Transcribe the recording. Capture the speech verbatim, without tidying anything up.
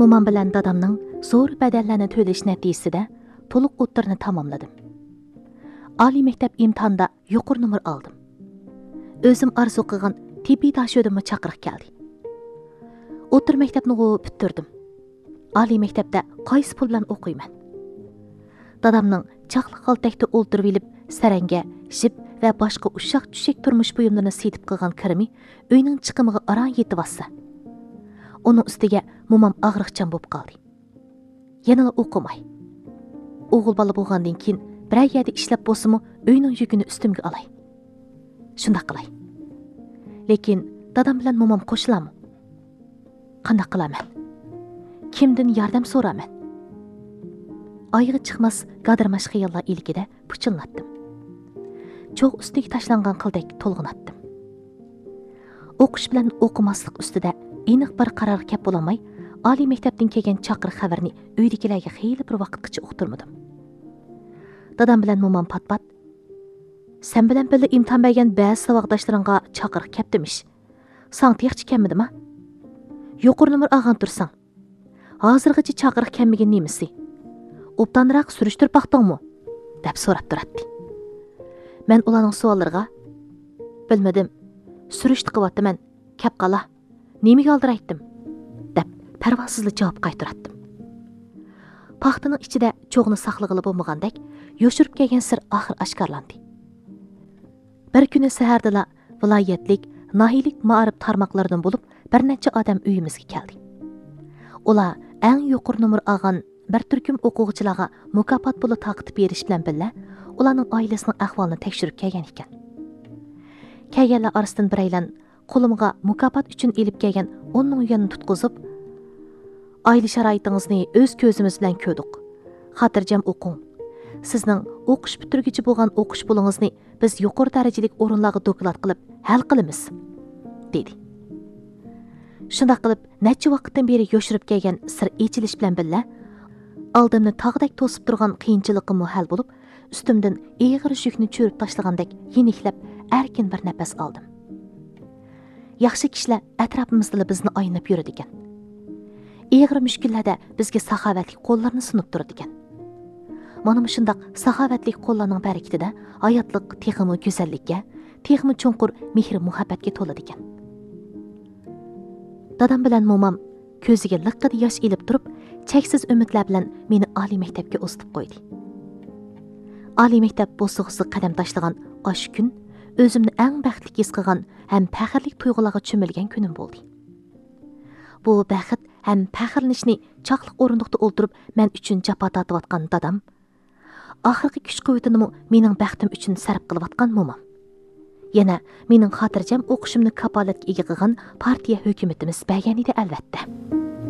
مومام بىلەن دادامنىڭ زور بەدەللەرنى تۆلىشى نەتىجىسىدە تولۇق ئوتتۇرىنى تاماملىدىم. ئالىي مەكتەپ ئىمتىھانىدا يۇقىرى نومۇر ئالدىم. ئۆزۈم ئارزۇ قىلغان تېببىي داشۆدىمۇ چاقىرىق كەلدى. ئوتتۇرا مەكتەپنىغۇ پۈتتۈردۈم. ئالىي مەكتەپتە قايسى پۇل بىلەن ئوقۇيمەن؟ دادامنىڭ چاقلىق غالتەكتە ئولتۇرۇۋېلىپ، سەرەڭگە، ژىپ ۋە باشقا ئۇششاق-چۈششەك تۇرمۇش بۇيۇملىرىنى سېتىپ قىلغان كىرىمى ئۆينىڭ چىقىمىغا ئاران يېتىۋاتسا. ئۇنىڭ ئۈستىگە مومام ئاغرىقچان بولۇپ قالدى. يەنىلا ئوقۇماي. ئوغۇل بالا بولغاندىن كېيىن بىرەر يەردە ئىشلەپ بولسىمۇ ئۆينىڭ يۈكىنى ئۈستۈمگە ئالاي. شۇنداق قىلاي. لېكىن دادام بىلەن مومام قوشۇلامۇ؟ قانداق قىلارمەن؟ كىمدىن ياردەم سورارمەن؟ ئايىغى چىقماس گادىرماش خىياللار ئىلكىدە پۇچۇللاتتىم. چوغ ئۈستىگە تاشلانغان قىلدەك تولغىناتتىم. ئوقۇش بىلەن ئوقۇماسلىق ئۈستىدە ئېنىق بىر قارارغا كەپ بولالماي، ئالىي مەكتەپتىن كەلگەن چاقىرىق خەۋىرىنى ئۆيدىكىلەرگە خېلى بىر ۋاقىتقىچە ئۇقتۇرمىدىم. دادام بىلەن مومام پات-پات، «سەن بىلەن بىللە ئىمتىھان بەرگەن بەزى ساۋاقداشلىرىڭغا چاقىرىق كەپتىمىش. ساڭا تېخىچە كەلمىدىما؟ يۇقىرى نومۇر ئالغان تۇرساڭ، ھازىرغىچە چاقىرىق كەلمىگىنى نېمىسى؟ ئوبدانراق سۈرۈشتۈرۈپ باقتىڭمۇ؟» دەپ سوراپ تۇراتتى. مەن ئۇلارنىڭ سوئاللىرىغا، «بىلمىدىم، سۈرۈشتە قىلىۋاتىمەن، كەپ قالا، نېمىگە ئالدىرايتتىم؟» دەپ پەرۋاسىزلا جاۋاب قايتۇراتتىم. پاختىنىڭ ئىچىدە چوغنى ساقلىغىلى بولمىغاندەك، يوشۇرۇپ كەلگەن سىر ئاخىر ئاشكارىلاندى. بىر كۈنى سەھەردىلا ۋىلايەتلىك، ناھىيىلىك مائارىپ تارماقلىرىدىن بولۇپ بىر نەچچە ئادەم ئۆيىمىزگە كەلدى. ئۇلار ئەڭ يۇقىرى نومۇر ئالغان بىر تۈركۈم ئوقۇغۇچىلارغا مۇكاپات پۇلى تارقىتىپ بېرىش بىلەن بىللە، ئۇلارنىڭ ئائىلىسىنىڭ ئەھۋالىنى تەكشۈرۈپ كەلگەن ئىكەن. كەلگەنلەر ئارىسىدىن بىرەيلەن قولۇمغا مۇكاپات ئۈچۈن ئېلىپ كەلگەن ئون مىڭ يۈەننى تۇتقۇزۇپ، «ئائىلە شارائىتىڭىزنى ئۆز كۆزىمىز بىلەن كۆردۇق. خاتىرجەم ئوقۇڭ. سىزنىڭ ئوقۇش پۈتتۈرگۈچە بولغان ئوقۇش پۇلىڭىزنى بىز يۇقىرى دەرىجىلىك ئورۇنلارغا دوكلات قىلىپ ھەل قىلىمىز» دېدى. شۇنداق قىلىپ، نەچچە ۋاقىتتىن بېرى يوشۇرۇپ كەلگەن سىر ئېچىلىش بىلەن بىللە، ئالدىمنى تاغدەك توسۇپ تۇرغان قىيىنچىلىقىممۇ ھەل بولۇپ، ئۈستۈمدىن ئېغىر يۈكنى چۈشۈرۈپ تاشلىغاندەك يېنىكلەپ، ئەركىن بىر نەپەس ئالدىم. ياخشى كىشىلەر ئەتراپىمىزدىلا بىزنى ئايلىنىپ يۈرىدىكەن. ئېغىر مۈشكۈللەردە بىزگە ساخاۋەتلىك قوللىرىنى سۇنۇپ تۇرىدىكەن. مانا مۇشۇنداق ساخاۋەتلىك قوللارنىڭ بەرىكىتىدە ھاياتلىق تېخىمۇ گۈزەللىككە، تېخىمۇ چوڭقۇر مېھىر-مۇھەببەتكە تولىدىكەن. دادام بىلەن مومام كۆزىگە لىققىدە ياش ئېلىپ تۇرۇپ، چەكسىز ئۈمىدلەر بىلەن مېنى ئالىي مەكتەپكە ئۇزىتىپ قويدى. ئالىي مەكتەپ بوسۇغىسىغا قەدەم تاشلىغان ئاشۇ كۈن ئۆزۈمنى ئەڭ بەختلىك ھېس قىلغان ھەم پەخىرلىك تۇيغۇلارغا چۆمۈلگەن كۈنۈم بولدى. بۇ بەخت ھەم پەخىرلىنىشنى چاقلىق ئورۇندۇقتا ئولتۇرۇپ مەن ئۈچۈن جاپا تارتىۋاتقان دادام، ئاخىرقى كۈچ-قۇۋۋىتىنىمۇ مېنىڭ بەختىم ئۈچۈن سەرپ قىلىۋاتقان مومام، يەنە مېنىڭ خاتىرجەم ئوقۇشۇمنى كاپالەتكە ئىگە قىلغان پارتىيە ھۆكۈمىتىمىز بەرگەن ئىدى، ئەلۋەتتە.